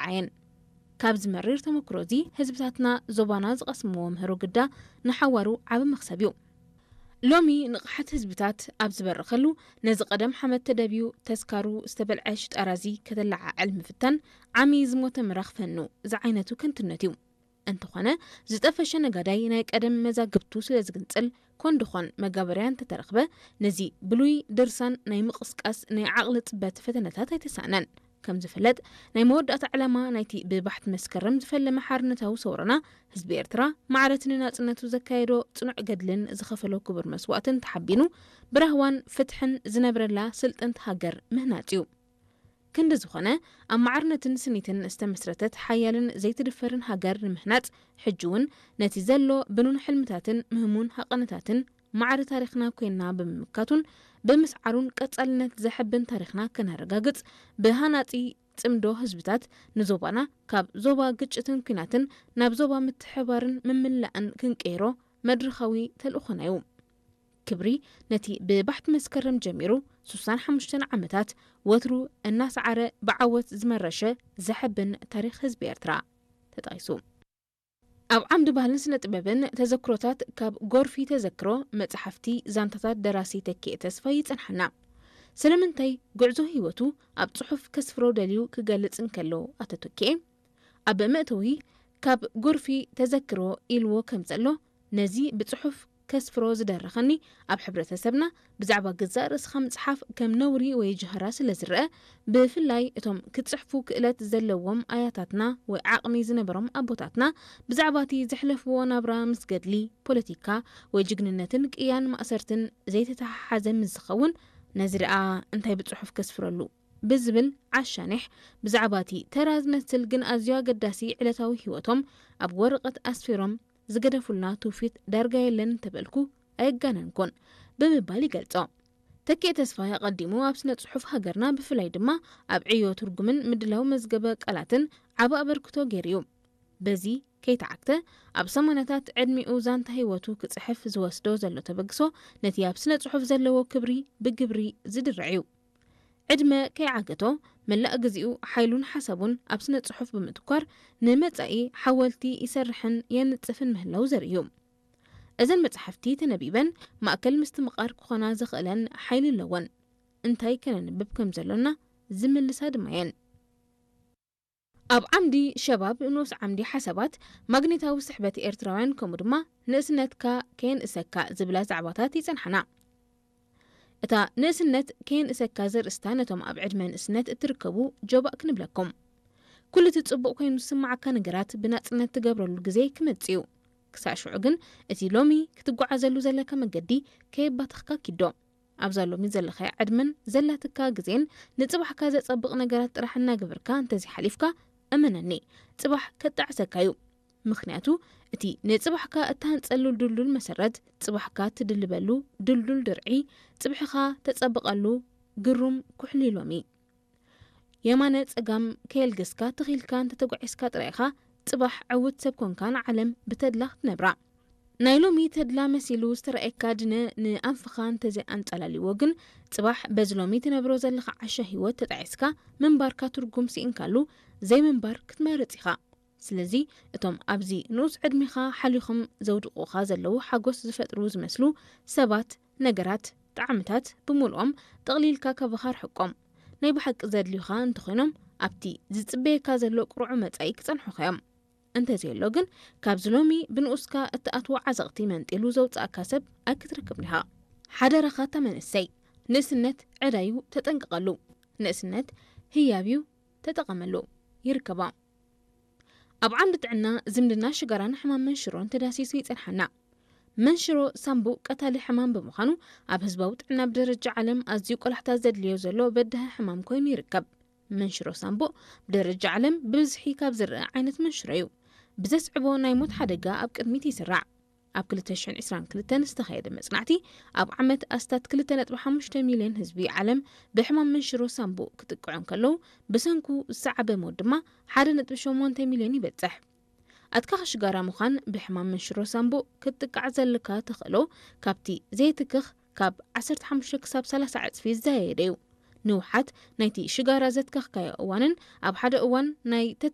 ኣይረኣየን። ካብዚ መሪር ተመክሮ እዚ ህዝብታትና ዞባና ዝቐስምዎ ምህሮ ግዳ ንሓዋሩ ዓቢ መኽሰብ እዩ። ሎሚ ንቕሓት ህዝብታት ኣብ ዝበረኸሉ፣ ነዚ ቀደም ሓመድ ተደብዩ ተስካሩ ዝተበልዐ ሽጣራ እዚ ከተለዓዕል ምፍታን ዓሚ ዝሞተ ምራኽ ፈኑ ዝዓይነቱ ከንቱነት እዩ። እንተኾነ፣ ዝጠፈሸ ነጋዳይ ናይ ቀደም መዛግብቱ ስለ ዝግንጽል፣ ኮን ድኾን መጋበርያ እንተተረኽበ፣ ነዚ ብሉይ ድርሳን ናይ ምቕስቃስ ናይ ዓቕሊ ጽበት ፈተነታት ኣይተሳእነን። ከም ዝፍለጥ፣ ናይ መወዳእታ ዕላማ ናይቲ ብባሕቲ መስከረም ዝፈለመ ሓርነታዊ ሰውራና፣ ህዝቢ ኤርትራ ማዕረቲ ንናጽነቱ ዘካየዶ ጽኑዕ ገድልን ዝኸፈሎ ክቡር መስዋእትን ተሓቢኑ፣ ብራህዋን ፍትሕን ዝነብረላ ስልጥንቲ ሃገር ምህናጽ እዩ። ክንዲ ዝኾነ፣ ኣብ ማዕርነትን ስኒትን ዝተመስረተት ሓያልን ዘይትድፈርን ሃገር ንምህናጽ፣ ሕጂ እውን ነቲ ዘሎ ብኑን ሕልምታትን ምህሙን ሃቐነታትን ማዕረ ታሪኽና ኮይና ብምምካቱን ብምስዓሩን ቀጻልነት ዘሐብን ታሪኽና ከነረጋግጽ፣ ብሃናጺ ጽምዶ ህዝብታት ንዞባና ካብ ዞባ ግጭትን ኲናትን ናብ ዞባ ምትሕባርን ምምላእን ክንቀይሮ መድረኻዊ ተልእኾና እዩ። ክብሪ ነቲ ብባሕቲ መስከረም ጀሚሩ ሱሳን ሓሙሽተን ዓመታት ወትሩ እናሰዓረ ብዓወት ዝመረሸ ዘሐብን ታሪኽ ህዝቢ ኤርትራ ተጠቒሱ። ኣብ ዓምዲ ባህልን ስነ ጥበብን ተዘክሮታት ካብ ጎርፊ ተዘክሮ መጽሓፍቲ ዛንታታት ደራሲ ተኪኤ ተስፋይ ይጸንሓና። ስለምንታይ ጉዕዞ ህይወቱ ኣብ ጽሑፍ ከስፍሮ ደልዩ ክገልጽ እንከሎ ኣቶ ተኪኤ ኣብ መእተዊ ካብ ጎርፊ ተዘክሮ ኢልዎ ከም ዘሎ ነዚ ብጽሑፍ ከስፍሮ ዝደረኸኒ ኣብ ሕብረተሰብና ብዛዕባ ገዛእ ርእስኻ ምጽሓፍ ከም ነውሪ ወይ ጀህራ ስለ ዝረአ፣ ብፍላይ እቶም ክጽሕፉ ክእለት ዘለዎም ኣያታትና ወይ ዓቕሚ ዝነበሮም ኣቦታትና ብዛዕባ እቲ ዘሕለፍዎ ናብራ ምስ ገድሊ፣ ፖለቲካ ወይ ጅግንነትን ቅያን ማእሰርትን ዘይተተሓሓዘ ምስ ዝኸውን፣ ነዚ ደኣ እንታይ ብጽሑፍ ከስፍረሉ? ብዝብል ዓሻኒሕ ብዛዕባ እቲ ተራ ዝመስል ግን ኣዝዩ ኣገዳሲ ዕለታዊ ህይወቶም ኣብ ወረቐት ኣስፊሮም ዝገደፉልና ትውፊት ዳርጋ የለን እንተበልኩ ኣየጋነንኩን ብምባል ይገልጾ። ተኪኤ ተስፋይ ኣቐዲሙ ኣብ ስነ ጽሑፍ ሃገርና ብፍላይ ድማ ኣብ ዕዮ ትርጉምን ምድላው መዝገበ ቃላትን ዓቢ ኣበርክቶ ገይሩ እዩ። በዚ ከይተዓግተ ኣብ ሰማንያታት ዕድሚኡ ዛንታ ህይወቱ ክጽሕፍ ዝወስዶ ዘሎ ተበግሶ ነቲ ኣብ ስነ ጽሑፍ ዘለዎ ክብሪ ብግብሪ ዝድርዕ እዩ። ዕድመ ከይዓገቶ መላእ ግዜኡ ሓይሉን ሓሳቡን ኣብ ስነ ጽሑፍ ብምትኳር ንመጻኢ ሓወልቲ ይሰርሕን የንጽፍን ምህላው ዘርኢ እዩ። እዘን መጻሕፍቲ ተነቢበን ማእከል ምስትምቓር ክኾና ዘኽእለን ሓይሊ ኣለወን። እንታይ ከነንብብ ከም ዘሎና ዝምልሳ ድማ እየን። ኣብ ዓምዲ ሸባብ ንኡስ ዓምዲ ሓሳባት ማግኔታዊ ስሕበት ኤርትራውያን ከምኡ ድማ ንእስነትካ ከየንእሰካ ዝብላ ዛዕባታት ይጸንሓና። እታ ንእስነት ከየንእሰካ ዘርእስታ ነቶም ኣብ ዕድመ ንእስነት እትርከቡ ጆባእ ክንብለኩም። ኩሉ እቲ ጽቡቕ ኮይኑ ዝስምዓካ ነገራት ብናጽነት ትገብረሉ ግዜ ክመጽእ እዩ። ክሳዕ ሽዑ ግን እቲ ሎሚ ክትጓዓዘሉ ዘለካ መገዲ ከየባተኽካ ኪዶ። ኣብዛ ሎሚ ዘለኻያ ዕድመን ዘላትካ ግዜን ንጽባሕካ ዘጸብቕ ነገራት ጥራሕ እናገበርካ እንተዘይሓሊፍካ፣ እመነኒ፣ ጽባሕ ከጣዕሰካ እዩ። ምኽንያቱ፣ እቲ ንጽባሕካ እትሃንጸሉ ድልዱል መሰረት፣ ጽባሕካ ትድልበሉ ድልዱል ድርዒ፣ ጽብሕኻ ተጸብቐሉ ግሩም ኩሕሊ ሎሚ። የማነ ጸጋም ከየልገስካ ተኺልካ እንተተጓዒዝካ ጥራይ ኢኻ ጽባሕ ዕዉት ሰብ ኮንካ ንዓለም ብተድላ ክትነብራ። ናይ ሎሚ ተድላ መሲሉ ዝተረኣየካ ድነ ንኣንፍኻ እንተዘይኣንጸላልይዎ ግን፣ ጽባሕ በዚ ሎሚ ትነብሮ ዘለኻ ዓሻ ህይወት ተጣዒስካ ምንባርካ ትርጉም ስኢንካሉ ዘይምንባር ክትመርጽ ኢኻ። ስለዚ እቶም ኣብዚ ንኡስ ዕድሜኻ ሓሊኹም ዘውድቑኻ ዘለዉ ሓጎስ ዝፈጥሩ ዝመስሉ ሰባት፣ ነገራት፣ ጣዕምታት ብምሉኦም ጠቕሊልካ ካባኻ ርሕቆም። ናይ ብሓቂ ዘድልዩኻ እንተኾይኖም ኣብቲ ዝጽበየካ ዘሎ ቁሩዕ መጻኢ ክጸንሑኻ እዮም። እንተዘየሎ ግን ካብዚ ሎሚ ብንኡስካ እትኣትዎ ዓዘቕቲ መንጢሉ ዘውጽኣካ ሰብ ኣይክትረክብን ኢኻ። ሓደራኻ እታ መንእሰይ፣ ንእስነት ዕዳ እዩ ተጠንቀቐሉ። ንእስነት ህያብ እዩ ተጠቐመሉ። ይርከባ። ኣብ ዓንዲ ጥዕና ዝምድና ሽጋራን ሕማም መንሽሮን ተዳሲሱ ይጸንሓና። መንሽሮ ሳምቡእ ቀታሊ ሕማም ብምዃኑ ኣብ ህዝባዊ ጥዕና ብደረጃ ዓለም ኣዝዩ ቆላሕታ ዘድልዮ ዘሎ በዳሂ ሕማም ኮይኑ ይርከብ። መንሽሮ ሳምቡእ ብደረጃ ዓለም ብብዝሒ ካብ ዝረአ ዓይነት መንሽሮ እዩ። ብዘስዕቦ ናይ ሞት ሓደጋ ኣብ ቅድሚት ይስራዕ። ኣብ ክልተ ሽሕን ዕስራን ክልተን ዝተኻየደ መጽናዕቲ ኣብ ዓመት ኣስታት ክልተ ነጥቢ ሓሙሽተ ሚልዮን ህዝቢ ዓለም ብሕማም መንሽሮ ሳምቡእ ክጥቅዑ እንከለዉ ብሰንኩ ዝሰዓበ ሞት ድማ ሓደ ነጥቢ ሸሞንተ ሚልዮን ይበጽሕ። ኣትካኺ ሽጋራ ምዃን ብሕማም መንሽሮ ሳምቡእ ክትጥቃዕ ዘለካ ተኽእሎ ካብቲ ዘይትክኽ ካብ ዓሰርተ ሓሙሽተ ክሳብ ሰላሳ ዕጽፊ ዝዘያየደ እዩ። ንውሓት ናይቲ ሽጋራ ዘትከኽካዮ እዋንን ኣብ ሓደ እዋን ናይ